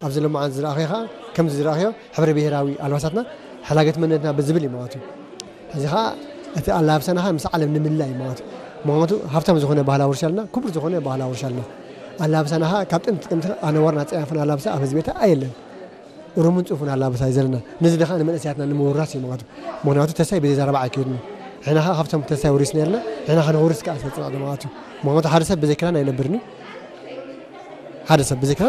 ኣብዚ ሎማዓንቲ ዝረኣኸዮ ከዓ ከምዚ ዝረኣኸዮ ሕብረ ብሄራዊ ኣልባሳትና ሓላገት መንነትና ብዝብል እዩ ማለት እዩ። እዚ ከዓ እቲ ኣላብሳና ከዓ ምስ ዓለም ንምልላይ እዩ ማለት እዩ። ምክንያቱ ሃብታም ዝኾነ ባህላዊ ውርሻ ኣለና፣ ክቡር ዝኾነ ባህላዊ ውርሻ ኣለና። ኣላብሳና ከዓ ካብ ጥንቲ ጥንቲ ኣነዋርና ፀያፍን ኣላብሳ ኣብ ህዝቢ ኤርትራ ኣየለን። ሩምን ፅፉን ኣላብሳ እዩ ዘለና። ነዚ ደኻ ንመንእሰያትና ንምውራስ እዩ ማለት እዩ። ምክንያቱ ተሳይ ብዘይ ዘረባ ኣይከይድን እዩ። ሕና ከዓ ካብቶም ተሳይ ወሪስና የለና፣ ሕና ከነውርስ ከዓ ስለ ፅናዕና ማለት እዩ። ምክንያቱ ሓደ ሰብ ብዘይ ክዳን ኣይነብርን እዩ። ሓደ ሰብ ብዘይ ክዳን